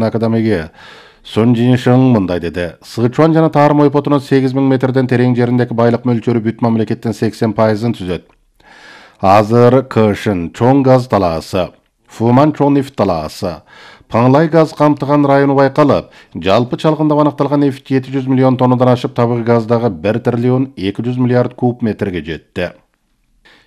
академиги Sun Jinsheng мындай деди. Сычуан жана Тарым ойпотунун 8000 метрден терең жериндеги байлык мөлчөрү бүт мамлекеттин 80%-ын түзөт. Азыр Кышын чоң газ талаасы, Фуман чоң нефт талаасы, Паңлай газ камтыган району байкалып, жалпы чалгында аныкталган нефт 700 миллион тоннадан ашып, табыгы газдагы 1 триллион 200 миллиард куб метрге жетти.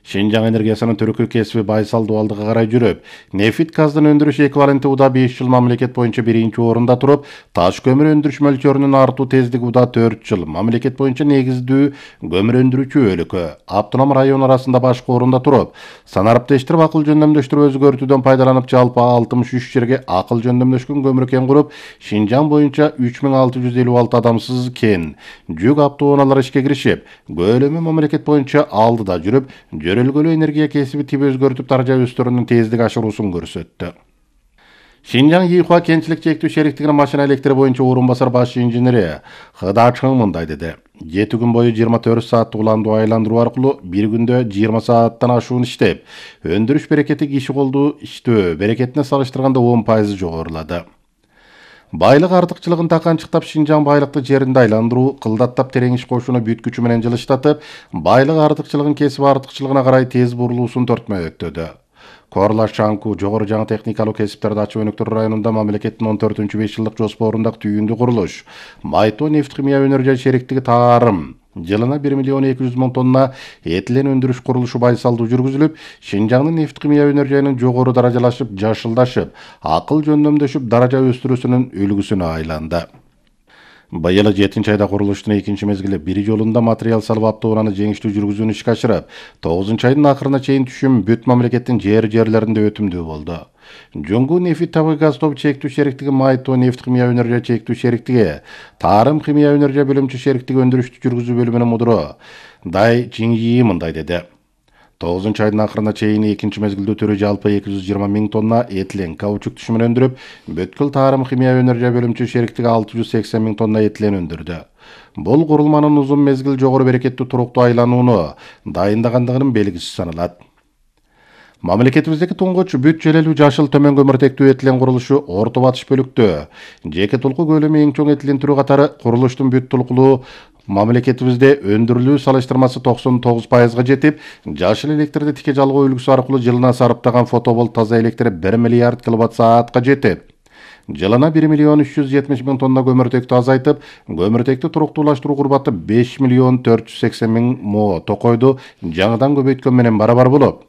Шинжаң энергиясынын түркү кесиби байсал дуалдыга карай жүрүп, нефт газдын өндүрүш эквиваленти уда 5 жыл мамлекет боюнча биринчи орунда туруп, таш көмүр өндүрүш мөлчөрүнүн артуу тездиги уда 4 жыл мамлекет боюнча негиздүү көмүр өндүрүүчү өлкө. Автоном район арасында башкы орунда туруп, санариптештирип акыл жөндөмдөштүрүп өзгөртүүдөн пайдаланып, жалпы 63 жерге акыл жөндөмдөшкөн көмүр кен куруп, Шинжаң боюнча 3656 адамсыз кен жүк автоунаалары ишке киришип, көлөмү мамлекет боюнча алдыда жүрүп, жөрөлгөлүү энергия кесиби тип өзгөртүп даража өстөрүнүн тездик ашыруусун көрсөттү. Шинжаң Йихуа кентчилик чектүү шериктигинин машина электри боюнча орун басар баш инженери Хыда Чың мындай деди. 7 күн бою 24 сааттык уландуу айландыруу аркылуу бир күндө 20 сааттан ашуун иштеп, өндүрүш берекети киши колдуу иштөө берекетине салыштырганда 10% жогорулады. Байлык артыкчылыгын таканчыктап, Шинжаң байлыкты жеринде айландыруу, кылдаттап терең иш кошууну бүт күчү менен жылыштатып, байлык артыкчылыгын кесип артыкчылыгына карай тез бурулуусун төртмөктөдү. Корла Шаңку жогору жаңы техникалуу кесиптерди ачып өнүктүрүү районунда мамлекеттин 14-5 жылдык жоспорундагы түйүндүү курулуш Майто нефть-химия өнөр-жай шериктиги Тарым жылына 1 миллион 200 мың тонна этилен өндүрүш курулушу байсалдуу жүргүзүлүп, Шинжаңдын нефть-химия өнөр-жайынын жогору даражалашып, жашылдашып, акыл жөндөмдөшүп, даража өстүрүүсүнүн үлгүсүнө айланды. Быйыл 7 айда курулуштун 2 мезгили бир жолунда материал салып автоунааны жеңиштүү жүргүзүүнү ишке ашырып, 9 айдын акырына чейин түшүм бүт мамлекеттин жерлеринде өтүмдүү болду. Жоңгу нефт табыгы газ тобу чектүү шериктиги Майто нефть-химия өнөр-жай чектүү шериктиги Тарым химия өнөр-жай бөлүмчө шериктиги өндүрүштү жүргүзүү бөлүмүнүн мудуру Дай Чиньи мындай деди. 9 айдын акырына чейин 2 мезгилдүү түрү жалпы 220 000 тонна этилен каучук түшүмүн өндүрүп, бүткүл Тарым химия өнөр-жай бөлүмчө шериктиги 680 000 тонна этилен өндүрдү. Бул курулманын узун мезгил жогору берекеттүү туруктуу айланууну дайындагандыгынын белгиси саналат. Мамлекетибиздеги туңгуч бүт желелүү жашыл төмөн көмүртектүү этилен курулушу Орто Батыш бөлүктө жеке толку көлөмү эң чоң этилен түрү катары курулуштун бүт толкулуу мамлекетибизде өндүрүлүү салыштырмасы 99%га жетип, жашыл электрди тике жалгоо үлгүсү аркылуу жылына сарыптаган фотоболт таза электр 1 миллиард киловатт-саатка жетет. Жылына 1 миллион 370 000 тонна көмүртектү азайтып, көмүртектү туруктуулаштыруу курбаты 5 миллион 480 000 мо токойду жаңыдан көбөйткөн менен барабар болуп,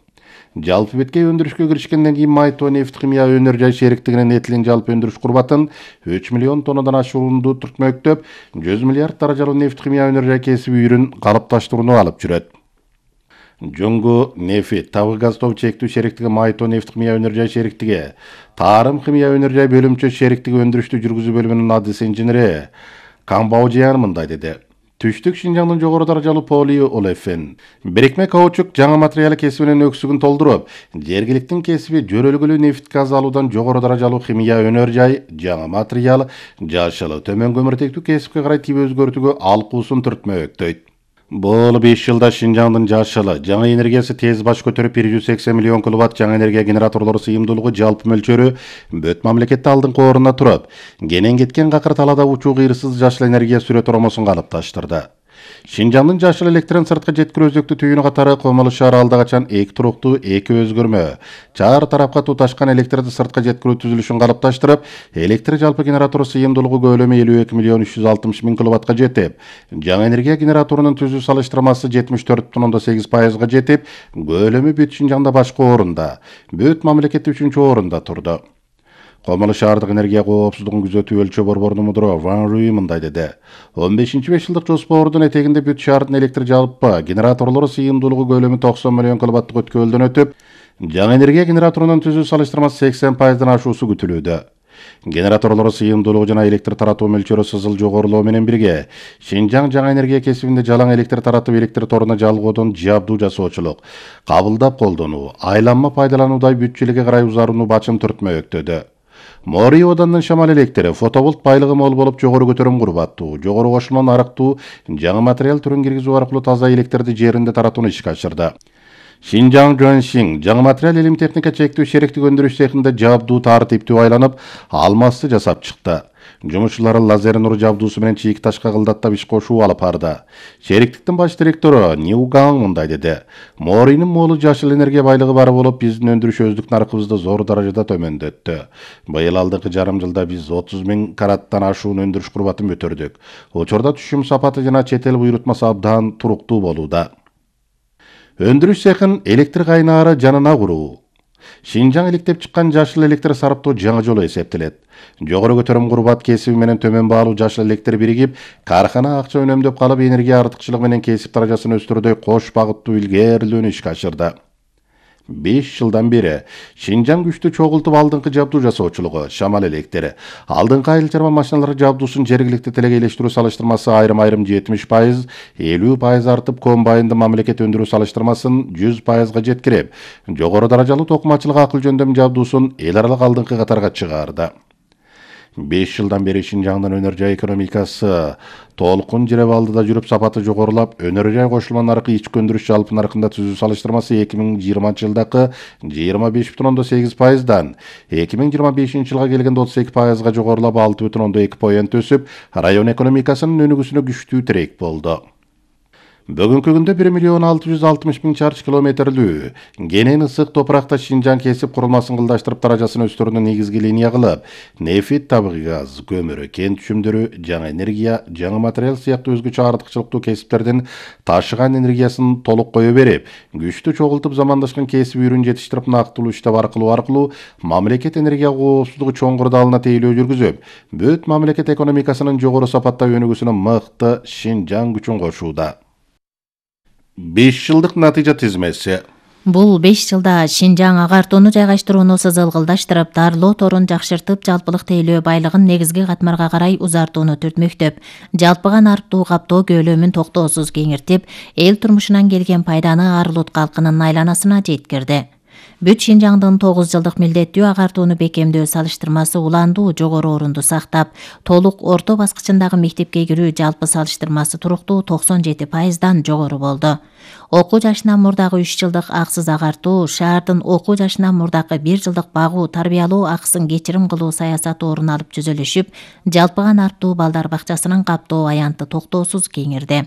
жалпы беткей өндүрүшкө киришкенден кийин Майто нефть-химия өнөр-жай шериктигинин этилен жалпы өндүрүш курбатын 3 миллион тоннадан ашуунду түртмөктөп, 100 миллиард даражалуу нефть-химия өнөр-жай кесиби үйрүн калыпташтырууну алып жүрөт. Жоңгу нефт табыгы газ тобу чектүү шериктиги Майто нефть-химия өнөр-жай шериктиги Тарым химия өнөр-жай бөлүмчө шериктиги өндүрүштү жүргүзүү бөлүмүнүн адис инженери Камбаужиян мындай деди. Түштүк Шинжаңдын жогору даражалуу полиолефин бирикме каучук жаңы материалы кесибинин өксүгүн толтуруп, жергиликтин кесиби жөрөлгөлүү нефт газ алуудан жогору даражалуу химия өнөр-жай жаңы материал жашыл төмөн көмүртектүү кесипке карай тип өзгөртүүгө алкуусун түртмөктөйт. Бул 5 жылда Шинжаңдын жашыл жаңы энергиясы тез баш көтөрүп 180 миллион киловатт жаңы энергия генераторлору сыйымдуулугу жалпы мөлчөрү бүт мамлекетте алдыңкы орунда туруп, кенен кеткен какыр талаада учуу кыйрсыз жашыл энергия сүрө торомосун калыпташтырды. Шинжаңдын жашыл электрин сыртка жеткирүү өзөктү түйүнү катары Комолу шаар алда качан эки туруктуу эки өзгөрмө чаар тарапка туташкан электрди сыртка жеткирүү түзүлүшүн калыпташтырып, электр жалпы генератору сыйымдуулугу көлөмү 52 миллион 360 000 киловаттка жетип, жаңы энергия генераторунун түзүү салыштырмасы 74,8%га жетип, көлөмү бүт Шинжаңда башкы орунда, бүт мамлекетте 3-орунда турду. Комолу шаардык энергия коопсуздугун күзөтүү өлчө борборунун мудуру Ван Руи мындай деди. 15-5 жылдык жоспордун этегинде бүт шаардын электр жалпы генераторлору сыйымдуулугу көлөмү 90 миллион киловаттык өткөлдөн өтүп, жаңы энергия генераторунун түзүү салыштырмасы 80%дан ашуусу күтүлүүдө. Генераторлору сыйымдуулугу жана электр таратуу мөлчөрү сызыл жогорулоо менен бирге, Шинжаң жаңы энергия кесибинде жалаң электр таратып, электр торуна жалгоодон жабдуу жасоочулук, кабылдап колдонуу, айланма пайдалануудай бүт желеге карай узарууну бачым түртмөктөдү. Мори оданын шамал электри, фотоболт байлыгы мол болуп, жогору көтөрүм курбаттуу, жогору кошулман арыктуу жаңы материал түрүн киргизүү аркылуу таза электрди жеринде таратууну ишке ашырды. Шинжаң Жоншин жаңы материал илим техника чектүү шериктик өндүрүш цехинде жабдуу тартиптүү айланып, алмасты жасап чыкты. Жумушчулар лазер нур жабдуусу менен чийик ташка кылдаттап иш кошуу алып барды. Шериктиктин баш директору Ньюган мындай деди: "Моринин молу жашыл энергия байлыгы бар болуп, биздин өндүрүш өздүк наркыбызды зор даражада төмөндөттү. Быйыл алдыңкы жарым жылда биз 30 000 караттан ашуун өндүрүш курбатын көтөрдүк. Учурда түшүм сапаты жана чет эл буйрутмасы абдан туруктуу болууда." Өндүрүш цехин электр кайнаары жанына куруу. Шинжаң иликтеп чыккан жашыл электр сарыптоо жаңы жолу эсептелет. Жогору көтөрүм курбат кесиби менен төмөн баалуу жашыл электр биригип, кархана акча өнөмдөп калып, энергия артыкчылыгы менен кесип даражасын өстүрүүдөй кош багыттуу илгээрилүүнү ишке ашырды. 5 жылдан бери Шинжаң күчтүү чогултуп алдыңкы жабдуу жасоочулугу, шамал электри, алдыңкы айыл чарба машиналары жабдуусун жергиликти телегейлештирүү салыштырмасы айрым-айрым 70%, 50% артып, комбайнды мамлекет өндүрүү салыштырмасын 100%га жеткирип, жогору даражалуу токумачылык акыл жөндөм жабдуусун эл аралык алдыңкы катарга чыгарды. 5 жылдан бери Шинжаңдын өнөр жай экономикасы толкун жиреп алдыда жүрүп, сапаты жогорулап, өнөр жай кошулма наркы ички өндүрүш жалпы наркында түзүү салыштырмасы 2020 жылдакы 25,8%дан 2025 жылга келгенде 32%га жогорулап, 6,2 өсүп, район экономикасынын өнүгүүсүнө күчтүү тирек болду. Бүгүнкү күндө 1,660,000 чарчы километрлүү кенен ысык топуракта Шинжаң кесип курулмасын кылдаштырып, даражасын өстүрүүнү негизги линия кылып, нефть, табигый газ, көмүр, кен түшүмдөрү, жаңы энергия, жаңы материал сыяктуу өзгөчө артыкчылыктуу кесиптердин ташыган энергиясын толук кое берип, күчтүү чогултуп замандашкан кесип үрүн жетиштирип, нактылуу иштеп аркылуу мамлекет энергия коопсуздугу чоңкур далына тейлөө жүргүзүп, бүт мамлекет экономикасынын жогору сапатта өнүгүүсүнө мыкты Шинжаң күчүн кошууда. 5 жылдык натыйжа тизмеси. Бул 5 жылда Шинжаң агартууну жайгаштырууну сызылгылдаштырып, дарылоо торун жакшыртып, жалпылык тейлөө байлыгын негизги катмарга карай узартууну түртмөктөп, жалпыга нарыктуу каптоо көлөмүн токтоосуз кеңиртип, эл турмушунан келген пайданы ар улут калкынын айланасына жеткирди. Бүт Шинжаңдын 9 жылдык милдеттүү агартууну бекемдөө салыштырмасы уландуу жогору орунду сактап, толук орто баскычындагы мектепке кирүү жалпы салыштырмасы туруктуу 97%дан жогору болду. Окуу жашынан мурдагы 3 жылдык аксыз агартуу, шаардын окуу жашынан мурдагы 1 жылдык багуу, тарбиялоо акысын кечирим кылуу саясаты орун алып түзүлүшүп, жалпыга нарттуу балдар бакчасынын каптоо аянты токтоосуз кеңирди.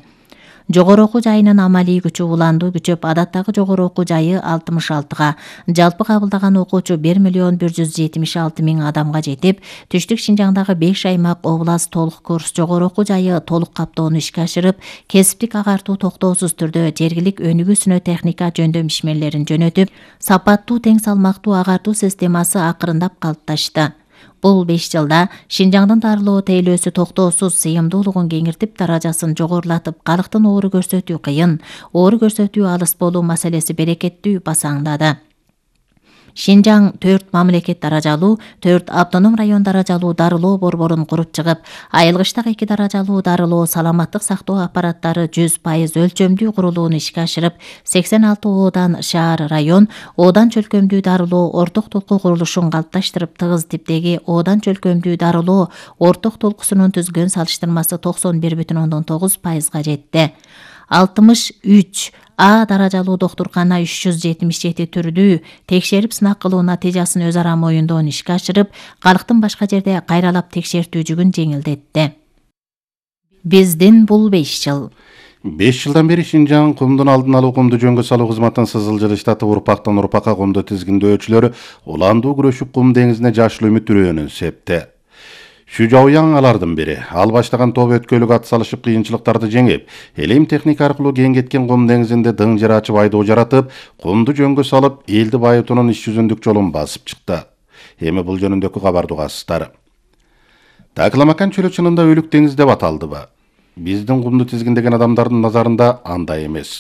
Жогору окуу жайынын амалий күчү уландуу күчөп, адаттагы жогору окуу жайы 66га, жалпы кабылдаган окуучу 1,176,000 адамга жетип, түштүк Шинжаңдагы 5 аймак област толук курс жогору окуу жайы толук каптоону ишке ашырып, кесиптик агартуу токтоосуз түрдө жергилик өнүгүүсүнө техника жөндөм ишмерлерин жөнөтүп, сапаттуу тең салмактуу агартуу системасы акырындап калыпташты. Бул 5 жылда Шинжаңдын дарылоо тейлөөсү токтоосуз сыйымдуулугун кеңиртип, даражасын жогорулатып, калктын оору көрсөтүү кыйын, оору көрсөтүү алыс болуу маселеси берекеттүү басаңдады. Шинжаң 4 мамлекет даражалуу, 4 автоном район даражалуу дарылоо борборун куруп чыгып, айылгычтак 2 даражалуу дарылоо саламаттык сактоо аппараттары 100% өлчөмдүү курулууну ишке ашырып, 86 оодан шаар район, оодан чөлкөмдүү дарылоо орток толку курулушун калыпташтырып, тыгыз типтеги оодан чөлкөмдүү дарылоо орток толкусунун түзгөн салыштырмасы 91,9%га жетти. 63 А даражалуу доктуркана 377 түрдүү текшерип сынак кылуу натыйжасын өз ара моюндоон ишке ашырып, калктын башка жерде кайралап текшертүү жүгүн жеңилдетти. Биздин бул 5 жыл. 5 жылдан бери Шинжаң кумдун алдын алуу, кумду жөнгө салуу кызматын сызылжырыштатып, урпактан урпакка кумду тизгиндөөчүлөр уландуу күрөшүп, кум деңизине жашыл үмүт үрөөнүн септи. Шүжауяң алардын бири. Ал баштаган топ өткөлүк ат салышып, кыйынчылыктарды жеңип, элим техника аркылуу кең кеткен кум деңизинде дың жер ачып, айдоо жаратып, кумду жөнгө салып, элди байытуунун иш жүзүндүк жолун басып чыкты. Эми бул жөнүндөгү кабарды угасыздар. Такламакан чөлү чынында өлүк деңиз деп аталдыбы? Биздин кумду тизгиндеген адамдардын назарында андай эмес.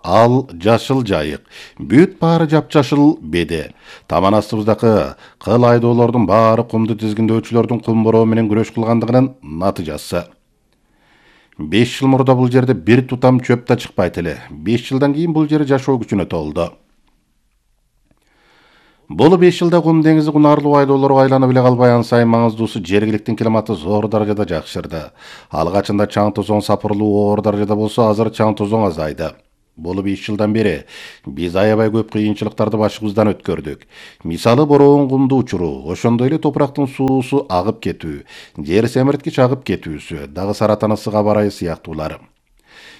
Ал жашыл жайык, бүт баары жапжашыл беде. Таман астыбыздагы кыл айдоолордун баары кумду тизгиндөөчүлөрдүн кум бороо менен күрөш кылгандыгынын натыйжасы. 5 жыл мурда бул жерде бир тутам чөп да чыкпайт эле. 5 жылдан кийин бул жер жашоо күчүнө толду. Бул 5 жылда кум деңизи кунарлуу айдоолорго айланып эле калбай, ан сайын маңыздуусу жергиликтин климаты зор даражада жакшырды. Алгачында чаң тозоң сапырылуу оор даражада болсо, азыр чаң тозоң азайды. Бул 5 жылдан бери биз аябай көп кыйынчылыктарды башыбыздан өткөрдүк. Мисалы бороон кумду учуруу, ошондой эле топурактын суусу агып кетүү, жер семирткич агып кетүүсү, дагы саратан ысыга барайы сыяктуулар.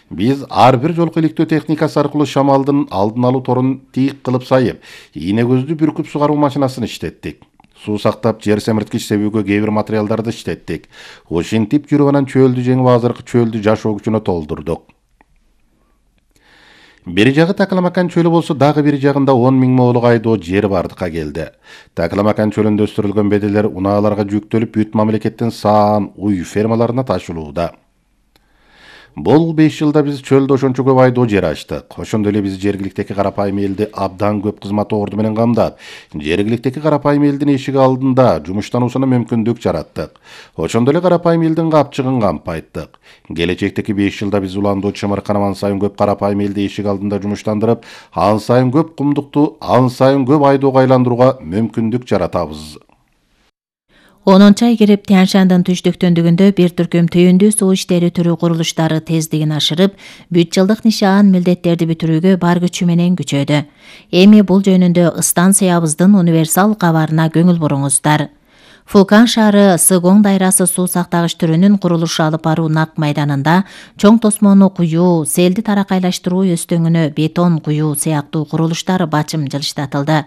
Биз ар бир жолку иликтөө техникасы аркылуу шамалдын алдын алуу торун тийик кылып сайып, ийне көздү бүркүп сугаруу машинасын иштеттик. Суу сактап, жер семирткич себүүгө кээ бир материалдарды иштеттик. Ошентип жүрүп анан чөөлдү жеңип азыркы чөөлдү жашоо күчүнө толтурдук. Бир жагы Такаламакан чөлү болсо, дагы бир жагында 10 000 моолук айдоо жер бардыкка келди. Такаламакан чөлүндө өстүрүлгөн бедерлер унааларга жүктөлүп, бүт мамлекеттин саан уй фермаларына ташылууда. Бул 5 жылда биз чөлдө ошончо көп айдоо жер ачтык. Ошондой эле биз жергиликтеги карапайым элди абдан көп кызмат орду менен камдап, жергиликтеги карапайым элдин эшиги алдында жумуштануусуна мүмкүндүк жараттык. Ошондой эле карапайым элдин капчыгын кампайттык. Келечектеги 5 жылда биз уландуу чымыркан ан сайын көп карапайым элди эшик алдында жумуштандырып, ан сайын көп кумдукту, ан сайын көп айдоого айландырууга мүмкүндүк жаратабыз. 10-ай кирип Тянь-Шандын түштүктөндүгүндө бир түркүм түйүндүү суу иштери түрү курулуштары тездигин ашырып, бүт жылдык нишаан милдеттерди бүтүрүүгө бар күчү менен күчөдү. Эми бул жөнүндө станциябыздын универсал кабарына көңүл буруңуздар. Фукан шаары Сыгоң дайрасы суу сактагыч түрүнүн курулушу алып баруу нак майданында чоң тосмону куюу, селди таракайлаштыруу өстөңүнө бетон куюу сыяктуу курулуштар бачым жылыштатылды.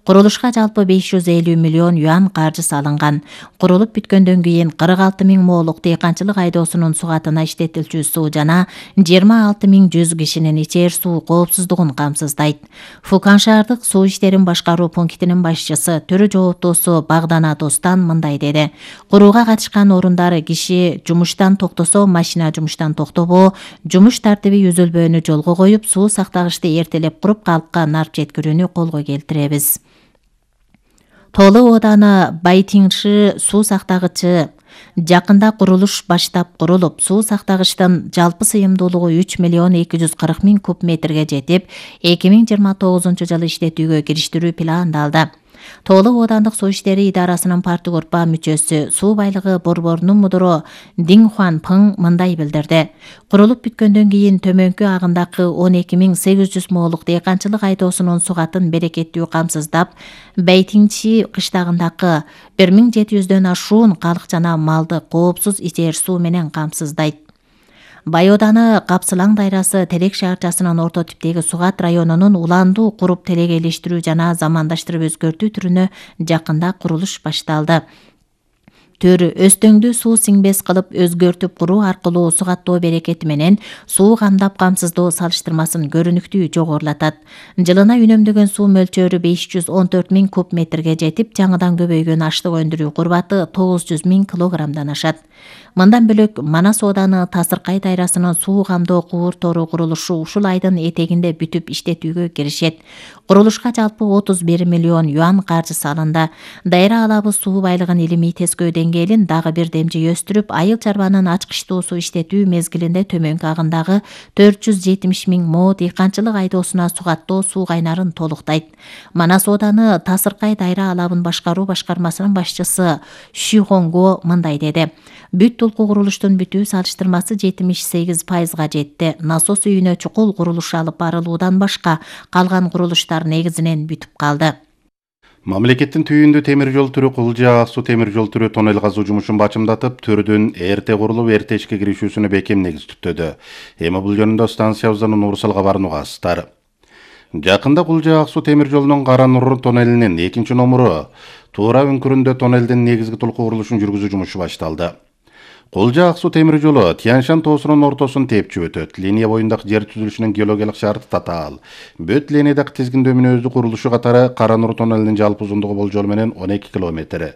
Курулушка жалпы 550 миллион юан каржы салынган. Курулуп бүткөндөн кийин 46 000 моолук дыйканчылык айдоосунун сугатына иштетилчү суу жана 26 100 кишинин ичер суу коопсуздугун камсыздайт. Фукан шаардык суу иштерин башкаруу пунктинин башчысы, төрө жооптоосу Багдана Достан мындай деди. Курууга катышкан орундары киши жумуштан токтосо, машина жумуштан токтобоо, жумуш тартиби үзүлбөөнү жолго коюп, суу сактагычты эртелеп куруп, калкка нарп жеткирүүнү колго келтиребиз. Толы ооданы Байтиңши суу сактагычы жакында курулуш баштап курулуп, суу сактагычтын жалпы сыйымдуулугу 3 240 000 куб метрге жетип, 2029 жылы иштетүүгө кириштирүү пландалды. Толы оодандык суу иштери идарасынын партгорпа мүчөсү, суу байлыгы борборунун мудуру Дин Хуан Пың мындай билдирди. Курулуп бүткөндөн кийин төмөнкү агындакы 12 800 моолук дыйканчылык айдоосунун сугатын берекеттүү камсыздап, Байтиңчи кыштагындакы 1700дөн ашуун калк жана малды коопсуз ичер суу менен камсыздайт. Байоданы Капсылаң дайрасы Терек шаарчасынын орто типтеги Сугат районунун уландуу куруп телегейлештирүү жана замандаштырып өзгөртүү түрүнө жакында курулуш башталды. Төр өстөңдү суу сиңбес кылып өзгөртүп куруу аркылуу сугаттоо берекети менен суу камдап камсыздоо салыштырмасын көрүнүктүү жогорулатат. Жылына үнөмдөгөн суу мөлчөрү 514 000 куб метрге жетип, жаңыдан көбөйгөн аштык өндүрүү курбаты 900 000 килограммдан ашат. Мындан бөлөк Манас ооданы Тасыркай дайрасынын суу камдоо кууртору курулушу ушул айдын этегинде бүтүп иштетүүгө киришет. Курулушка жалпы 31 миллион юан каржы салынды. Дайра алабы суу байлыгын илимий тескөө деңгээлин дагы бир демжи өстүрүп, айыл чарбанын ачкычтуу суу иштетүү мезгилинде төмөнкү агындагы 470 000 мо дыйканчылык айдоосуна сугаттоо суу кайнарын толуктайт. Манас ооданы Тасыркай дайра алабын башкаруу башкармасынын башчысы Шихонго мындай деди. Бүт толку курулуштун бүтүү салыштырмасы 78%га жетти. Насос үйүнө чукул курулуш алып барылуудан башка калган курулуштар негизинен бүтүп калды. Мамлекеттин түйүндүү темир жол түрү Кулжа Ак суу темир жол түрү тоннель казуу жумушун бачымдатып, түрдүн эрте курулуп, эрте ишке киришүүсүнө бекем негиз түптөдү. Эми бул жөнүндө станциябыздын универсал кабарын угасыздар. Жакында Кулжа Ак суу темир жолунун Кара Нур тоннелинин 2 номуру туура үңкүрүндө тоннелдин негизги толку курулушун жүргүзүү жумушу башталды. Кулжа Ак суу темир жолу Тянь-Шань тоосунун ортосун тепчип өтөт. Линия боюндагы жер түзүлүшүнүн геологиялык шарты татаал. Бүт линиядагы тизгиндөө мүнөздүү курулушу катары Кара Нур тоннелинин жалпы узундугу болжол менен 12 километр.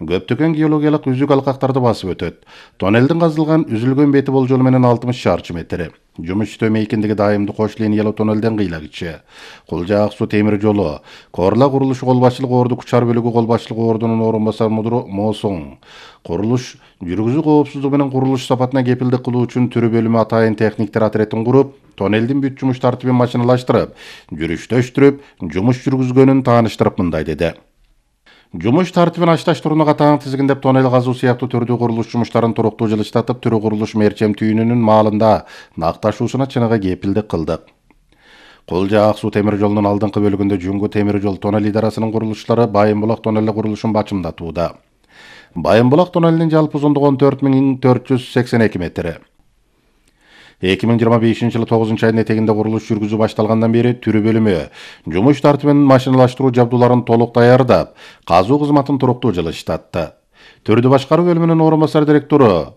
Көптөгөн геологиялык үзүк алкактарды басып өтөт. Тоннелдин казылган үзүлгөн бети болжол менен 60 шарчы метр. Жумуш иштөө экендиги дайымдуу кош линиялуу тоннелден кыйлагычы. Кулжа Ак суу темир жолу Корла курулушу кол башчылык орду Кучар бөлүгү кол башчылык ордунун орун басар мудуру Мосоң. Курулуш жүргүзүү коопсуздугу менен курулуш сапатына кепилдик кылуу үчүн түрү бөлүмү атайын техниктер отрядын куруп, тоннелдин бүт жумуш тартибин машиналаштырып, жүрүштөштүрүп, жумуш жүргүзгөнүн тааныштырып мындай деди. Жумуш тартибин ашташтырууну катаң тизгиндеп, тоннель казуу сыяктуу түрдүү курулуш жумуштарын туруктуу жылыштатып, түрү курулуш мерчем түйүнүнүн маалында накташуусуна чыныгы кепилдик кылдык. Кулжа Ак суу темир жолунун алдыңкы бөлүгүндө Жүнгү темир жол тоннель идарасынын курулуштары Байым булак тоннели курулушун бачымдатууда. Байым булак тоннелинин жалпы узундугу 14.482 метр. 2025-жылы 9-айдын этегинде курулуш жүргүзүү башталгандан бери түрү бөлүмү жумуш тартибин машиналаштыруу жабдууларын толук даярдап, казуу кызматын туруктуу жылыштатты. Түрдү башкаруу бөлүмүнүн орун басар директору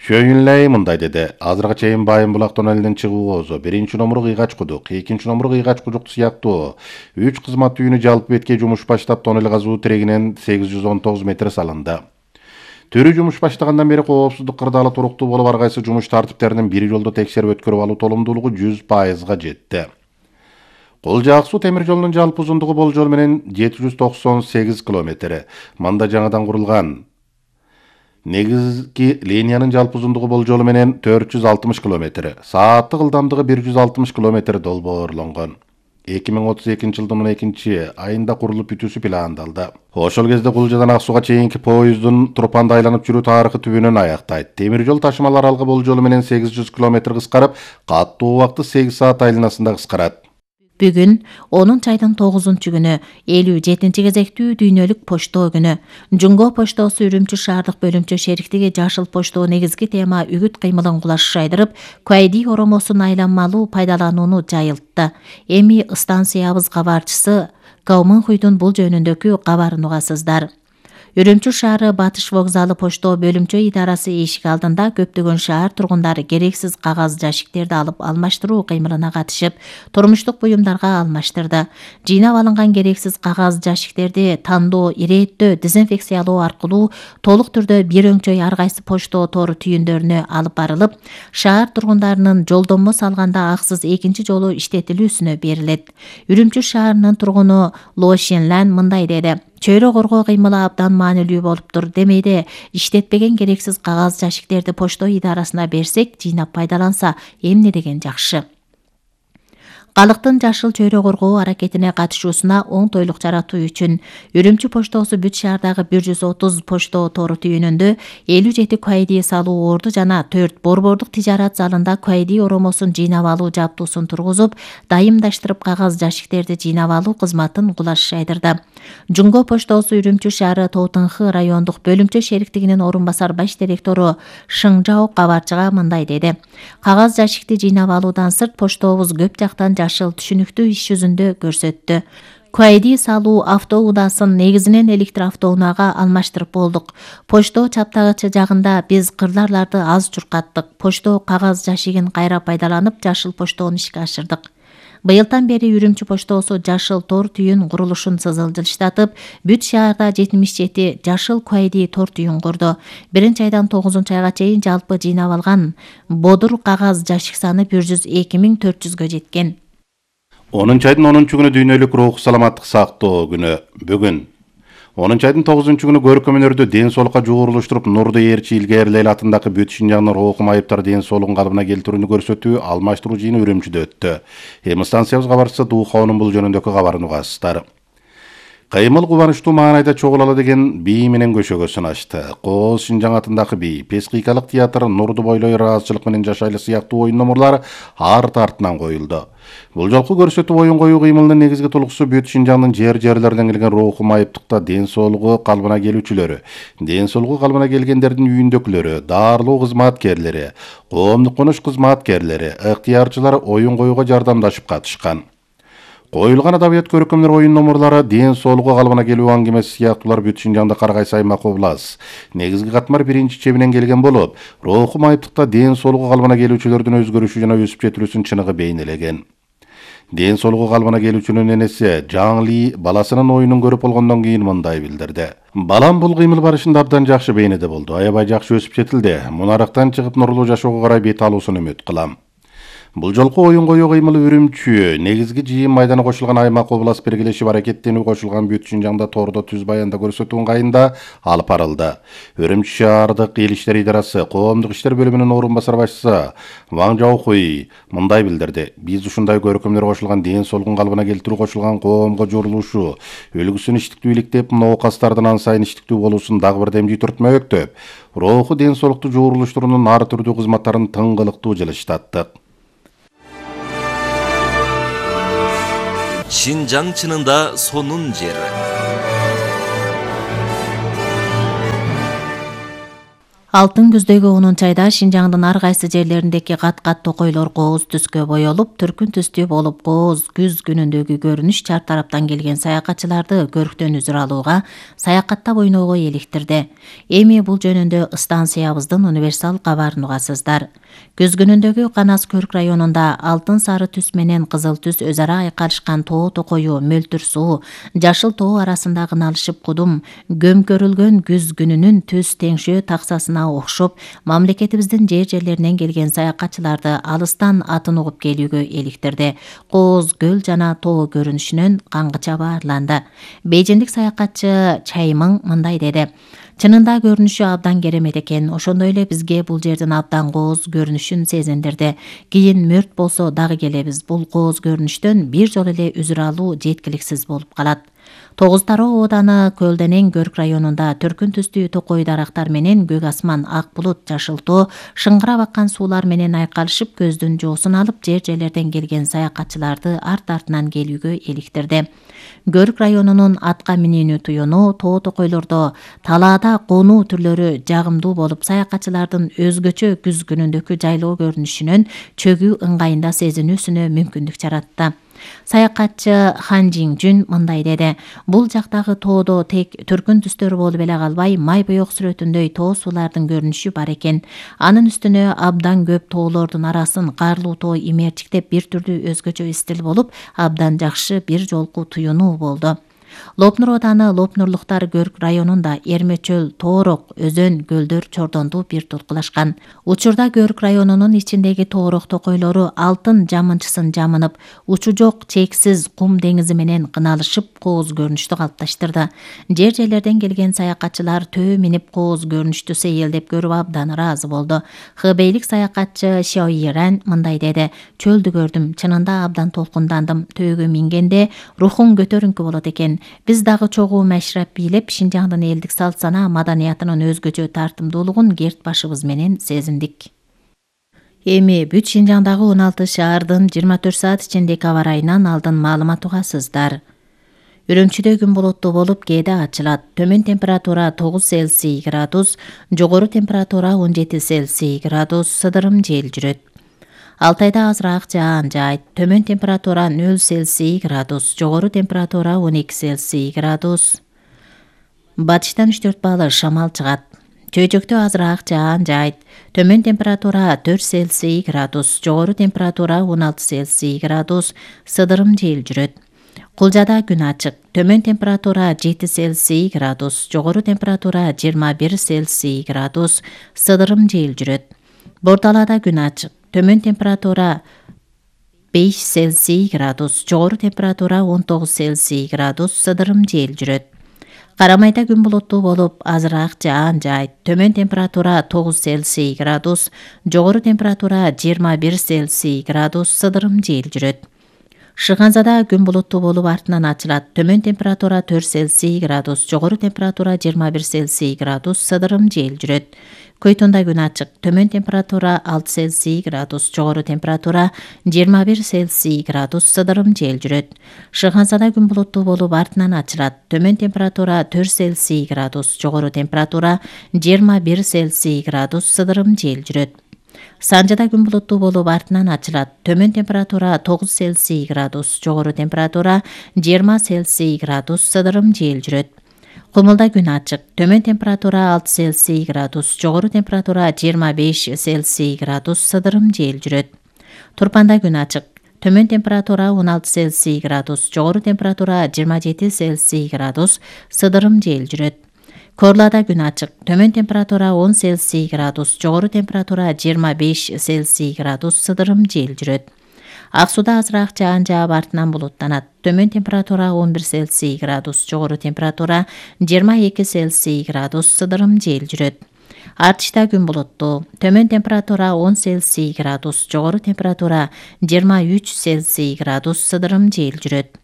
Шөйүнлей мындай деди. Азыркыга чейин Байым булак тоннелинин чыгуу көзү, биринчи номер Кыйгач кудук, экинчи номер Кыйгач кудук сыяктуу 3 кызмат үйүнү жалпы бетке жумуш баштап тоннель казуу тирегинен 819 метр салынды. Түрү жумуш баштагандан бери коопсуздук кырдаалы туруктуу болуп, ар кайсы жумуш тартиптеринин бир жолдо текшерип өткөрүп алуу толумдуулугу 100%га жетти. Кулжа Ак суу темир жолунун жалпы узундугу болжол менен 798 км. Мында жаңадан курулган негизги линиянын жалпы узундугу болжолу менен 460 км. Сааттык ылдамдыгы 160 км долбоорлонгон. 2032-жылдын 12-айында курулуп бүтүүсү пландалды. Ошол кезде Кулжадан Ак сууга чейинки поезддун Тропанда айланып жүрүү тарыхы түбүнөн аяктайт. Темир жол ташымалар аралыгы болжолу менен 800 км кыскарып, каттуу убакты 8 саат айланасында кыскарат. Бүгүн 10-айдын 9-күнү 57-кезектүү дүйнөлүк почтоо күнү. Жунго поштоосу Үрүмчү шаардык бөлүмчө шериктиги жашыл поштоо негизги тема үгүт кыймылын кулаш айдырып, Куайди оромосун айланмалуу пайдаланууну жайылтты. Эми станциябыз кабарчысы Каумынхуйдун бул жөнүндөгү кабарын угасыздар. Үрүмчү шаары Батыш вокзалы поштоо бөлүмчө идарасы эшик алдында көптөгөн шаар тургундары керексиз кагаз жашиктерди алып алмаштыруу кыймылына катышып, турмуштук буюмдарга алмаштырды. Жыйнап алынган керексиз кагаз жашиктерди тандоо, ирээттөө, дезинфекциялоо аркылуу толук түрдө бир өңчөй ар кайсы поштоо тору түйүндөрүнө алып барылып, шаар тургундарынын жолдонмо салганда аксыз экинчи жолу иштетилүүсүнө берилет. Үрүмчү шаарынын тургуну Ло Шенлан мындай деди. Чөйрө коргоо кыймылы абдан маанилүү болуптур. Демейде иштетпеген керексиз кагаз жашиктерди поштоо идарасына берсек, жыйнап пайдаланса, эмне деген жакшы. Калктын жашыл чөйрө коргоо аракетине катышуусуна оңтойлук жаратуу үчүн Үрүмчү поштоосу бүт шаардагы 130 поштоо тору түйүнүндө 57 Куайди салуу орду жана 4 борбордук тижарат залында Куайди оромосун жыйнап алуу жабдуусун тургузуп, дайымдаштырып кагаз жашиктерди жыйнап алуу кызматын кулаш айдырды. Жунго поштоосу Үрүмчү шаары Тоотынхы райондук бөлүмчө шериктигинин орун басар баш директору Шыңжао кабарчыга мындай деди. Кагаз жашикти жыйнап алуудан сырт поштообуз көп жактан жашыл түшүнүктүү иш жүзүндө көрсөттү. Куайди салуу автоудаасын негизинен электр автоунаага алмаштырып болдук. Поштоо чаптагычы жагында биз кырларларды аз чуркаттык. Поштоо кагаз жашигин кайра пайдаланып, жашыл поштоону ишке ашырдык. Быйылдан бери Үрүмчү поштоосу жашыл тор түйүн курулушун сызылжылыштатып, бүт шаарда 77 жашыл Куайди тор түйүн курду. 1-айдан 9-айга чейин жалпы жыйнап алган бодур кагаз жашик саны 102.400гө жеткен. 10-айдын 10-күнү дүйнөлүк рух саламаттык сактоо күнү. Бүгүн 10-айдын 9-күнү көркөм өнөрдү ден соолукка жуурулуштуруп, Нурду Ээрчи Илгээрлел атындагы бүт Шинжаңдын руху майыптар ден соолугун калыбына келтирүүнү көрсөтүү алмаштыруу жыйыны Үрүмчүдө өттү. Эми станциябыз кабарчысы Дуухаунун бул жөнүндөгү кабарын угасыздар. Кыймыл кубанычтуу маанайда чогулалы деген бий менен көшөгө сынашты. Кооз Шинжаң атындагы бий, Пескикалык театр, Нурду бойлой ыраазычылык менен жашайлы сыяктуу оюн номурлар арт артынан коюлду. Бул жолку көрсөтүү оюн коюу кыймылынын негизги тулуксу бүт Шинжаңдын жерлеринен келген руху майыптыкта ден соолугу калыбына келүүчүлөрү, ден соолугу калыбына келгендердин үйүндөгүлөрү, дарылоо кызматкерлери, коомдук конуш кызматкерлери, ыктыярчылар оюн коюуга жардамдашып катышкан. Коюлган адабият көркөмдөр оюн номурлары, ден соолугу калыбына келүү аңгемеси сыяктуулар бүт Шинжаңда ар кайсы аймак облас негизги катмар биринчи чебинен келген болуп, руху майыптыкта ден соолугу калыбына келүүчүлөрдүн өзгөрүшү жана өсүп жетилүүсүн чыныгы бейнелеген. Ден соолугу калыбына келүүчүнүн энеси Жаң Ли баласынын оюнун көрүп болгондон кийин мындай билдирди. Балам бул кыймыл барышында абдан жакшы бейнеде болду. Аябай жакшы өсүп жетилди. Мунарактан чыгып нурлуу жашоого карай бет алуусун үмүт кылам. Бул жолку оюн коюу кыймылы Үрүмчү негизги жыйын майдана кошулган аймак облас биргелешип аракеттенүү кошулган бүт Шинжаңда тордо түз баянда көрсөтүү ыңгайында алып барылды. Үрүмчү шаардык эл иштери идарасы коомдук иштер бөлүмүнүн орун басар башчысы Ваң Жаохуй мындай билдирди. Биз ушундай көркөмдөр кошулган ден соолугун калыбына келтирүү кошулган коомго журулушу үлгүсүн иштиктүү иликтеп, ноокастардын ан сайын иштиктүү болуусун дагы бир демжий түртмөктөп, руху ден соолукту жуурулуштуруунун ар түрдүү кызматтарын тыңгылыктуу жылыштаттык. Шинжаң чынында сонун жер. Алтын күздөгү 10 айда Шинжаңдын ар кайсы жерлериндеки кат-кат токойлор кооз түскө боелуп, түркүн түстүү болуп кооз күз күнүндөгү көрүнүш чар тараптан келген саякатчыларды көрктөн үзүр алууга, саякаттап ойноого эликтирди. Эми бул жөнүндө станциябыздын универсал кабарын угасыздар. Күз күнүндөгү Канас Көрк районунда алтын сары түс менен кызыл түс өз ара айкалышкан тоо токою, мөлтүр суу, жашыл тоо арасындагы налышып кудум, көмкөрүлгөн күз күнүнүн түс теңшөө таксасына окшоп, мамлекетибиздин жерлеринен келген саякатчыларды алыстан атын угуп келүүгө эликтирди. Кооз көл жана тоо көрүнүшүнөн каңгыча баарланды. Бейжиндик саякатчы Чаймың мындай деди: Чынында көрүнүшү абдан керемет экен. Ошондой эле бизге бул жердин абдан кооз көрүнүшүн сезиндирди. Кийин мөрт болсо дагы келебиз. Бул кооз көрүнүштөн бир жолу эле үзүр алуу жеткиликсиз болуп калат. Тогуз Тароо ооданы Көлденең Көрк районунда түркүн түстүү токой дарактар менен көк асман, ак булут, жашыл тоо, шыңгырап аккан суулар менен айкалышып көздүн жоосун алып, жерлерден келген саякатчыларды арт-артынан келүүгө эликтирди. Көрк районунун атка минүүнү туюну, тоо токойлордо талаада конуу түрлөрү жагымдуу болуп, саякатчылардын өзгөчө күз күнүндөгү жайлоо көрүнүшүнөн чөгүү ыңгайында сезинүүсүнө мүмкүндүк жаратты. Саякатчы Хан Жиңжүн мындай деди: Бул жактагы тоодо тек түркүн түстөр болуп эле калбай, май боек сүрөтүндөй тоо суулардын көрүнүшү бар экен. Анын үстүнө абдан көп тоолордун арасын карлуу тоо имээрчиктеп бир түрдүү өзгөчө стиль болуп, абдан жакшы бир жолку туюнуу болду. Лопнур ооданы Лопнурлуктар Көрк районунда Эрмечөл, Тоорок, Өзөн, көлдөр чордондуу бир толкулашкан. Учурда Көрк районунун ичиндеги Тоорок токойлору алтын жамынчысын жамынып, учу жок чексиз кум деңизи менен кыналышып, кооз көрүнүштү калыпташтырды. Жерлерден келген саякатчылар төө минип кооз көрүнүштү сейилдеп көрүп абдан ыраазы болду. Хыбейлик саякатчы Шаоиран мындай деди: Чөлдү көрдүм, чынында абдан толкундандым. Төөгө мингенде рухуң көтөрүңкү болот экен. Биз дагы чогуу машрап бийлеп, Шинжаңдын элдик салт сана маданиятынын өзгөчө тартымдуулугун керт башыбыз менен сезиндик. Эми бүт Шинжаңдагы 16 шаардын 24 саат ичиндеги аба ырайынан алдын маалымат угасыздар. Үрөмчүдө күн булуттуу болуп, кээде ачылат. Төмөн температура 9 Цельсий градус, жогору температура 17 Цельсий градус, сыдырым жел жүрөт. Алтайда азыраак жаан жаайт. Төмөн температура 0 Цельсий градус, жогору температура 12 Цельсий градус. Батыштан 3-4 баалы шамал чыгат. Чөйжөктө азыраак жаан жаайт. Төмөн температура 4 Цельсий градус, жогору температура 16 Цельсий градус, сыдырым жел жүрөт. Кулжада күн ачык. Төмөн температура 7 Цельсий градус, жогору температура 21 Цельсий градус, сыдырым жел жүрөт. Бордалада күн ачык. Төмөн температура 5 Цельсий градус, жогору температура 19 Цельсий градус, сыдырым жел жүрөт. Карамайда күн булуттуу болуп, азыраак жаан жаайт. Төмөн температура 9 Цельсий градус, жогору температура 21 Цельсий градус, сыдырым жел жүрөт. Шыгансада күн булуттуу болуп, артынан ачылат. Төмөн температура 4 Цельсий градус, жогору температура 21 Цельсий градус, сыдырым жел жүрөт. Көйтүндө күн ачык. Төмөн температура 6 Цельсий градус, жогору температура 21 Цельсий градус, сыдырым жел жүрөт. Шыгансада күн булуттуу болуп, артынан ачылат. Төмөн температура 4 Цельсий градус, жогору температура 21 Цельсий градус, сыдырым жел жүрөт. Санжада күн булуттуу болуп, артынан ачылат. Төмөн температура 9 Цельсий градус, жогору температура 20 Цельсий градус, сыдырым жел жүрөт. Кумулда күн ачык. Төмөн температура 6 Цельсий градус, жогору температура 25 Цельсий градус, сыдырым жел жүрөт. Турпанда күн ачык. Төмөн температура 16 Цельсий градус, жогору температура 27 Цельсий градус, сыдырым жел жүрөт. Корлада күн ачык. Төмөн температура 10 Цельсий градус, жогору температура 25 Цельсий градус, сыдырым жел жүрөт. Ак сууда азыраак жаан жаап, артынан булуттанат. Төмөн температура 11 Цельсий градус, жогору температура 22 Цельсий градус, сыдырым жел жүрөт. Артышта күн булуттуу. Төмөн температура 10 Цельсий градус, жогору температура 23 Цельсий градус, сыдырым жел жүрөт.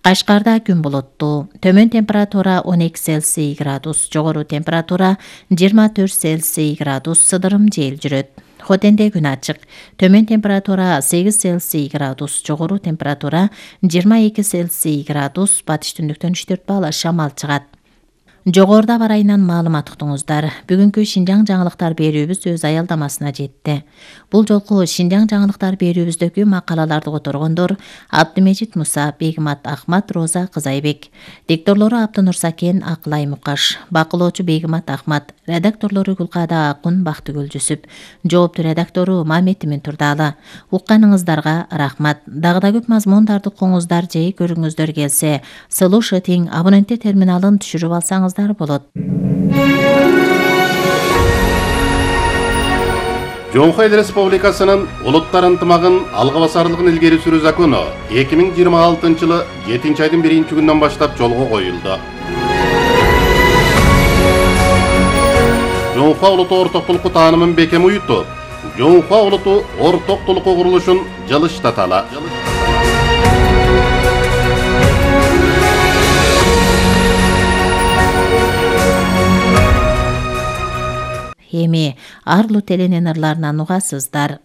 Кашкарда күн булуттуу. Төмөн температура 12 Цельсий градус, жогору температура 24 Цельсий градус, сыдырым жел жүрөт. Хотенде күн ачык. Төмөн температура 8 Цельсий градус, жогору температура 22 Цельсий градус, батыш түндүктөн 3-4 балл шамал чыгат. Жогоруда бар айынан маалымат уктуңуздар. Бүгүнкү Шинжаң жаңылыктар берүүбүз өз аялдамасына жетти. Бул жолку Шинжаң жаңылыктар берүүбүздөгү макалаларды которгондор Абдымежит Муса, Бегимат Ахмат, Роза Кызайбек. Дикторлору Аптынур Сакен, Акылай Мукаш. Бакылоочу Бегимат Ахмат. Редакторлору Гүлкада Акун, Бактыгүл Жүсүп. Жооптуу редактору Мамет Турдалы. Укканыңыздарга рахмат. Дагы да көп мазмундарды угуңуздар же көрүңүздөр келсе, слушатинг абоненттер терминалын түшүрүп алсаңыздар болот. Жоңхо Эл Республикасынын улуттар ынтымагын алга басарлыгын илгери сүрүү закону 2026-жылы 7-айдын 1-күнүнөн баштап жолго коюлду. Жоңхо улуту ортоктулукку таанымын бекем уютуп, Жоңхо улуту ортоктулукку курулушун жылыштаталы. Эми арлуу теленен ырларынан угасыздар.